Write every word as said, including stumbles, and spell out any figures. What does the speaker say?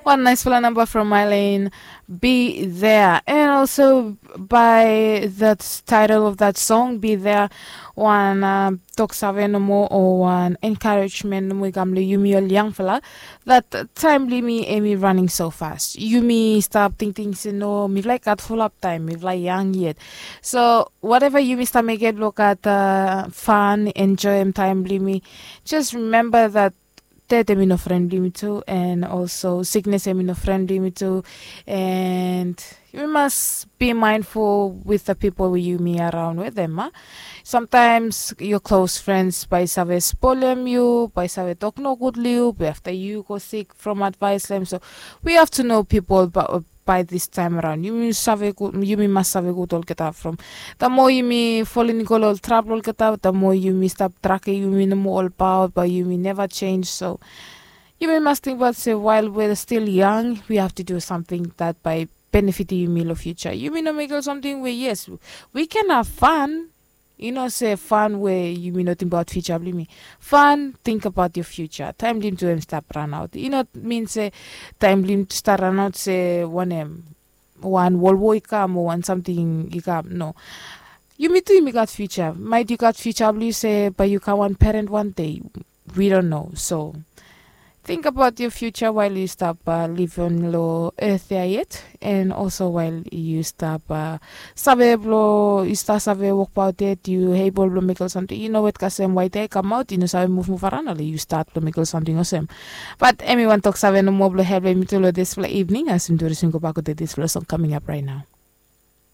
One nice fala namba from Eileen, Be There. And also by that title of that song, Be There, wan uh, tok save nomo o wan encouragement nomo i kam long yumi ol yangfala. That time blong yumi em i running so fast. Yumi stap tingting se no, mifala i gat fulap taim, mifala i yang yet. So whatever yumi stap mekem blong gat uh, fun, enjoyim taim blong yumi, just remember that death em i no fren blong yumi tu, and also sickness em i no fren blong yumi tu. And yumi mas be mindful with the people we yumi around with them, a? Sometimes your close friends bai save spolem yu, bai save tok nogud long yu be afta yu go sick from advice long em. So we have to know people by this time around. Yumi save gud, yumi mas save gud olgeta from the more yumi folin i go long ol trabel olgeta, the more yumi stap drage yumi nomo olbaot, bai yumi neva change. So yumi mas tingbaot se while we're still young, we have to do something that bai benefitim yumi long future. Yumi no mekem ol samting we yes, we can have fun. I no se fan we yumi no tingbaot future blong yumi. Fan, tingbaot yo future. Taim blong yumi tu em stap ranaot. I no min se taim blong yumi tu stap ranaot se wanem, wan wolwo i kam o wan samting i kam. No, yumi tu yumi gat future. Maet yu gat future blong yu se bai yu kam wan peren wan dei. We don't know. So tingbaot yo future wael yu stap uh, livim long earth ya yet, and also wael yu stap uh, save blong yu stap save wokbaot yet, yu able blong mekem ol samting. Yu no wet kasem waet ya i kamaot, yu no save muvmuv aran ole yu stat blong mekem ol samting olsem. Bat em i wan tok save nomo blong helpem yumi tu long dispela evening as yumi tu resin go bak wetem dispela song coming up right now.